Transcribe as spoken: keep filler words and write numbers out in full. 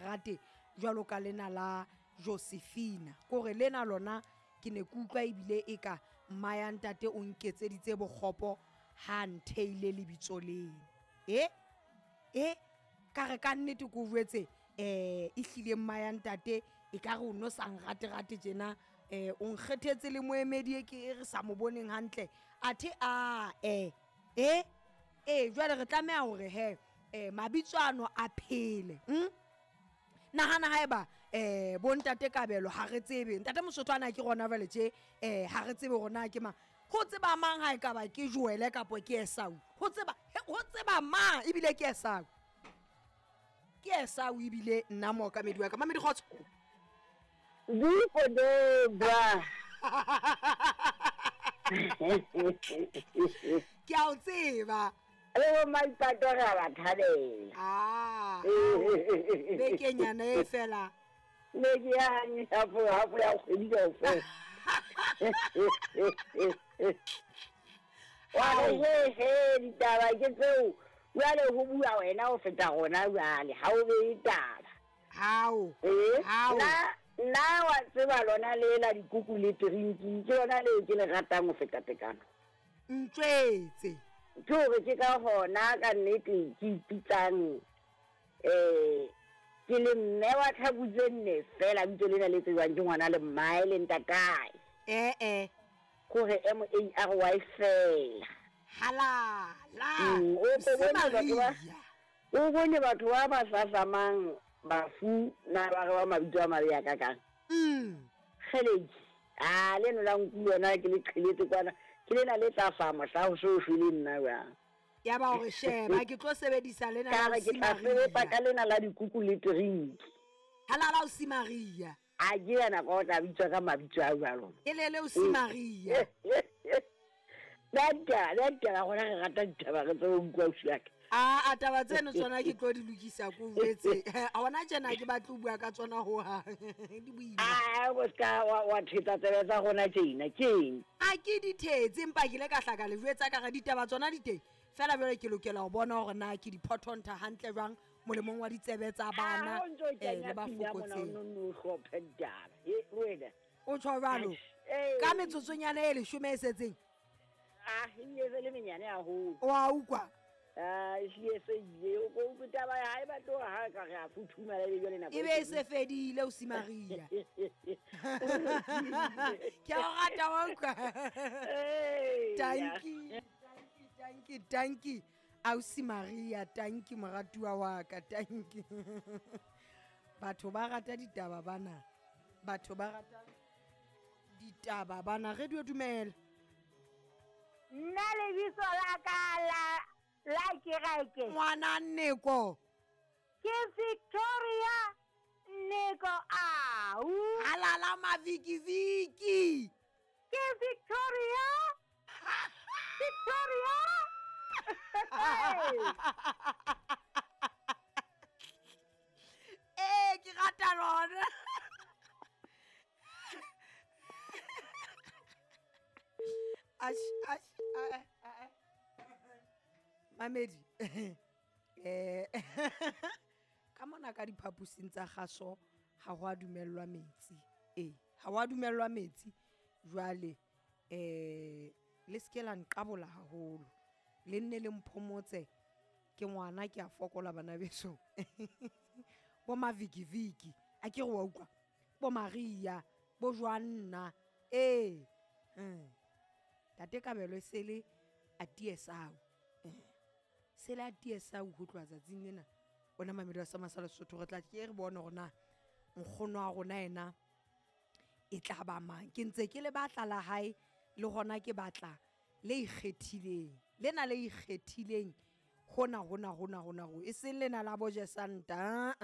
rate jwalo ka lena la Josephina. Kore lena lona ke ne ke utlwa ebile e ka mma ya ntate o nketseditse bokgopo ha ntheile lebitso lena. E e ka re ka nnete ke o jwetse eh e hlile mma ya ntate e ka re o no sa nrate rate tjena, eh o nkgethetse le moemedi e ke e re sa mo boneng hantle. Athe a eh eh eh jwale re tlameha hore he eh mabitso ano a phele. Hm? Nahana haeba eh bo ntate Kabelo ha re tsebe ntate Mosotho ana ke rona jwale tje eh ha re tsebe hore na ke mang. Ho tseba mang ha e ka ba ke Joele kapo ke Esau? Ho tseba ho tseba mang ebile ke Esau? Ke Esau ebile nna mookamedi wa ka. Mamedi kgotso. Diko de bra. Ke a o tseba. Le bo Maipato re a ba thabela. Ah. Bekenyana e fela. Beke ya hafo hafo ya kgwedi kaofela. Wa re he he ditaba ke tseo. Jwale ho bua wena ho feta rona jwale ha o be taba. Hao. Eh? Hao. Nna nna wa tseba lona le la dikuku le drinki ke lona le ke le ratang ho feta tekano. Ntjwetse. Ke hore ke ka hona ka nnete ke ipitsang eh ke le mme wa tlhaku tse nne fela bitso lena le tsejwang ke ngwana le mmae le ntatae. Eh eh. Kore M A R Y fela. Halala. Mm, o ko bone batho ba o bone batho ba ba hlahlamang bafu na ba re ba mabitso a mabe a kakang. Mm. Kgeleki. Ah le no la nku yona ke le qheletse kwana. Ke lena le tla fa mohla ho so shwele nna jwang. Ya ba hore sheba ke tlo sebedisa lena Ka la re ke tla Simaria. sebetsa ka lena la dikuku le drink. Halala o Simaria. A ke yana ka o tla bitswa ka mabitso a jwalo. E le le o Simaria. Nna nna rona re rata ditaba re tsebe ho utlwa ausi wa ka. A a taba tseno tsona ke tlo di lokisa ko jwetse. A hona tjena ke batle ho bua ka tsona ho hang. Di boima. Ah, o ska wa wa thetsa tsebe tsa rona tjena ke eng? A ke di thetse empa ke ile ka hlaka le jwetsa ka re ditaba tsona di teng. Fela jwale ke lokela ho bona hore na ke di phothonta hantle jwang molemong wa ditsebe tsa bana Ah, o ntso eh le kenya ba pina mona, o fokotseng. no no hlophe ditaba. E wena. O tjho jwalo. Eh. Ka metsotsonyana e leshome e setseng. Ah, e bile se le menyane haholo. O a utlwa? Ah, e hlile se ile. O ko utlwe taba ya hae ba tloha ha ka re a futhumala ebe jwale nako E be e se fedile o Simaria. Ke a o rata wa utlwa. Ee, Tanki, tanki, tanki, tanki. Ausi Maria, tanki moratuwa wa ka, tanki. Batho ba rata ditaba bana. Batho ba rata ditaba bana. Radio dumela. Nna lebitso la ka la la kereke. Ngwana Nneko. Ke Victoria Nneko au. Halala mavikiviki. Ke Victoria. Victoria. Eh, ke rata lona. Ash, ash, ah, ah, ah. Mamedi. Eh, ka mona ka diphaposing tsa kgaso ha ho a dumellwa metsi. Eh, ha ho a dumellwa metsi. Jwale eh le se ke la nqabola haholo. Le nne le mphomotse ke ngwana ke a fokola bana beso. Bo mavikiviki, a ke re wa utlwa. Bo Maria, bo Joanna. Eh. Hmm. Tate Kabelo e sele a tiesau. Eh. Sele a tiesau ho tloha tsatsing lena. Ona mamedi wa sa masala Sesotho re tla ke re bone hore na nkgono wa rona ena e tla ba mang. Ke ntse ke le batla la hae le hona ke batla le ikgethileng. Lena le ikgethileng hona hona hona hona ho e seng lena la bo Jesanta.